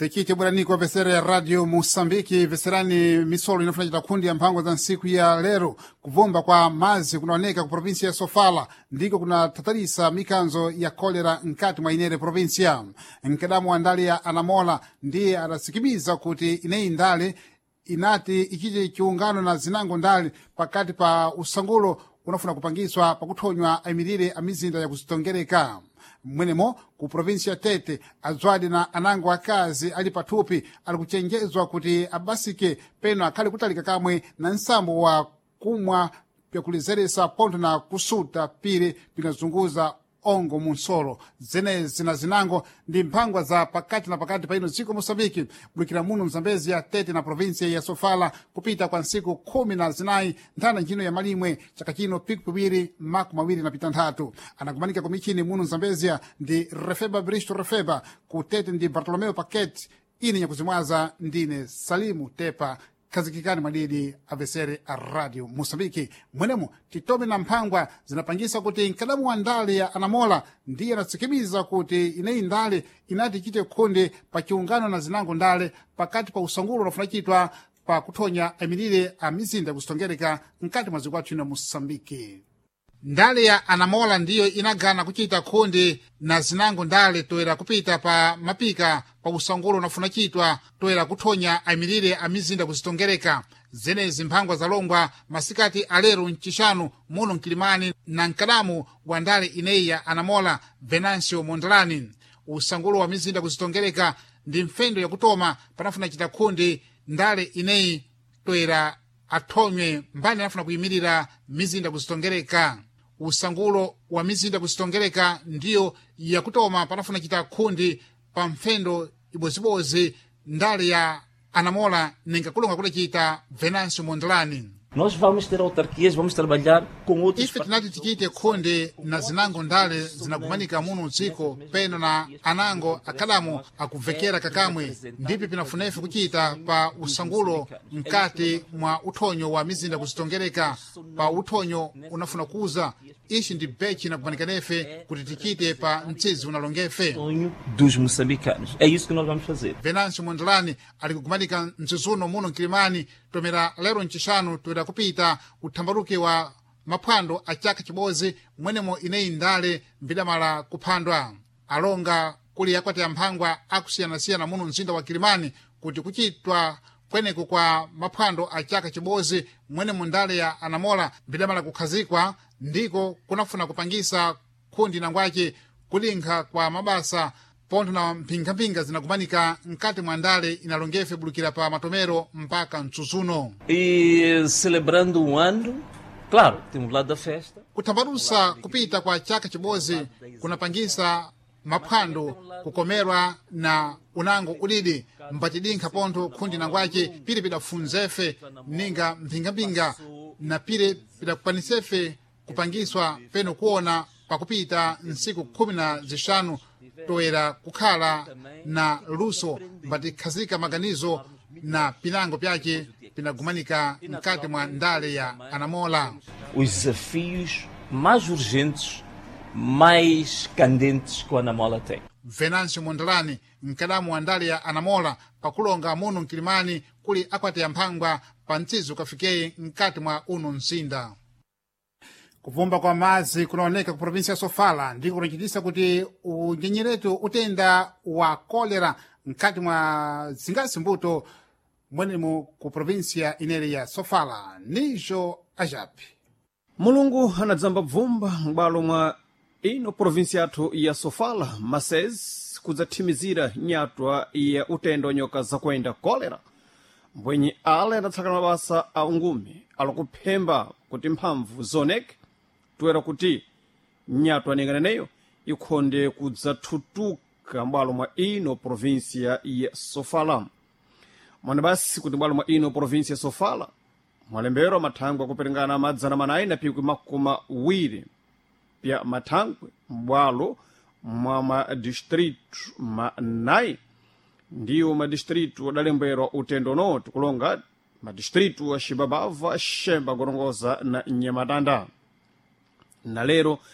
Tichite bweraniko vesera ya Radio Moçambique, veserani misolo inofuna chita khundi ya mphango za ntsiku ya lero. Kuvumba kwa mazi kunaoneka ku provinsia ya Sofala ndiko kunathatalisa mikanzo ya kolera mkati mwa inere provinsia. Mkadamu wa ndale ya Anamola ndiye adasikimiza kuti ineyi ndale inati ichite chiungano na zinango ndale pakati pa usangulo unafuna kupangiswa pakuthonywa ayimirire a mizinda yakuzitongereka. Mwenemo ku provinsi ya Tete, adzwadi na anango akazi ali pathupi ali kuchenjezwa kuti abasike peno akhale kutalika kamwe na nsambo wa kumwa pyakulezeresa pontho na kusuta pire pinazunguza ongo munsolo. Zenezi na zinango ndi mphangwa za pakati na pakati pa ino dziko Moçambique, bulukira muno Mzambezi ya Tete na provinsia ya Sofala kupita kwa ntsiku 14 nthanda ntchino ya malimwe chaka chino piku 2026. Anakumanika kumichini muno Mzambezia ndi Refeba Bristo Refeba, ku Tete ndi Bartolomeo Paquet. Ine nyakuzimwaza ndine Salimu Tepa. Khazikikani mwadidi avesere a Radio Moçambique. Mwenemo titome na mphangwa zinapangisa kuti mkadamu wa ndale ya Anamola ndiye anatsikimiza kuti ineyi ndale inati ichite khonde pa chiungano na zinango ndale pakati pa usangulo unafuna chitwa pa kuthonya ayimirire a mizinda kuzitongereka mkati mwa zikwathu ino Moçambique. Ndale ya Anamola ndiyo inagana kuchita khonde na zinango ndale toera kupita pa mapika pa usangulo unafuna chitwa toera kuthonya ayimirire a mizinda kuzitongereka. Zenezi mphangwa zalongwa masikati alero mchixanu muno mkilimani na mkadamu wa ndale ineyi ya Anamola, Venancio Mondlane. Usangulo wa mizinda kuzitongereka ndi mfendo yakutoma panafuna chita khonde ndale ineyi toera athonywe mbani anafuna kuyimirira mizinda kuzitongereka. Usangulo wa mizinda kuzitongereka ndiyo yakutoma panafuna chita khundi pa mfendo ibozibozi ndale ya Anamola ninga kulonga kudacita Venancio Mondlane. Nós vamos ter autarquias, vamos trabalhar com outros. Ife tinati tichite khonde na zinango ndale zinakumanika muno mdziko peno na anango akhadamo akuvekera kakamwe, ndipi pinafunefe kuchita pa usangulo mkati mwa uthonyo wa mizinda kuzitongereka. Pa uthonyo unafuna kuza ichi ndi bechi inakumanikanefe kuti tichite pa mtsizi unalongefe. Sonho dos moçambicanos. É isso que nós vamos fazer. Venancio Mondlane ali kukumanika mtsizuno muno mkilimani tomera lero mchixanu toera kupita uthambaluke wa maphwando a chaka chibodzi mwenemo ineyi ndale mbidamala kuphandwa. Alonga kuli akwati amphangwa akusiyanasiyana muno mzinda wa Kilimani kuti kuchitwa kweneko kwa maphwando a chaka chibodzi mwenemo ndale ya Anamola mbidamala kukhazikwa ndiko kunafuna kupangisa khundi nangwace kulinkha kwa mabasa pontho na mphingamphinga zinakumanika mkati mwa ndale inalongefe bulukira pa matomero mpaka mtsutsuno. E celebrando um ano, claro, tem um lado da festa. Kuthambalusa kupita kwa chaka chibodzi kunapangisa maphwando kukomerwa na unango udidi mpatidinkha pontho khundi nangwace pire pidafunzefe ninga mphingamphinga na pire pidakukwanisefe kupangiswa peno kuona pakupita ntsiku 15 toera kukhala na luso mbatikhazika maganizo na pinango pyace pinagumanika mkati mwa ndale ya Anamola. Os desafios mais urgentes, mais candentes que o Anamola tem. Venancio Mondlane, mkadamu wa ndale ya Anamola, pakulonga muno mkilimani kuli akwati amphangwa pa mtsizi ukafikeye mkati mwa uno mzinda. Kuvumba kwa madzi kunaoneka ku provinsi ya Sofala ndiko kunachitisa kuti unyenyeretu utenda wa kolera mkati mwa zingasi mbuto mwenemo ku provinsia inere ya Sofala. Nijo ajapi Mulungu anadzamba bvumba m'bwalo mwa ino provinsi yathu ya Sofala masezi kudzathimizira nyatwa ya utendo wa nyoka zakuenda kolera. Mbwenye ale adatsakana mabasa a ungumi alikuphemba kuti mphamvu zoneke toera kuti nyatwa ninganeneyo ikhonde kudzathutuka m'bwalo mwa ino provinsia ya Sofala. Mwana basi kuti m'bwalo mwa ino provinsia ya Sofala mwalembero mathangwe akuperingana 420 pya mathangwe m'bwalo mwa madistritu manayi, ndiwo madistritu adalemberwa utendo uno, tikulonga madistritu a Xibabava, Xemba, Gorongosa na Nhamatanda. Na lero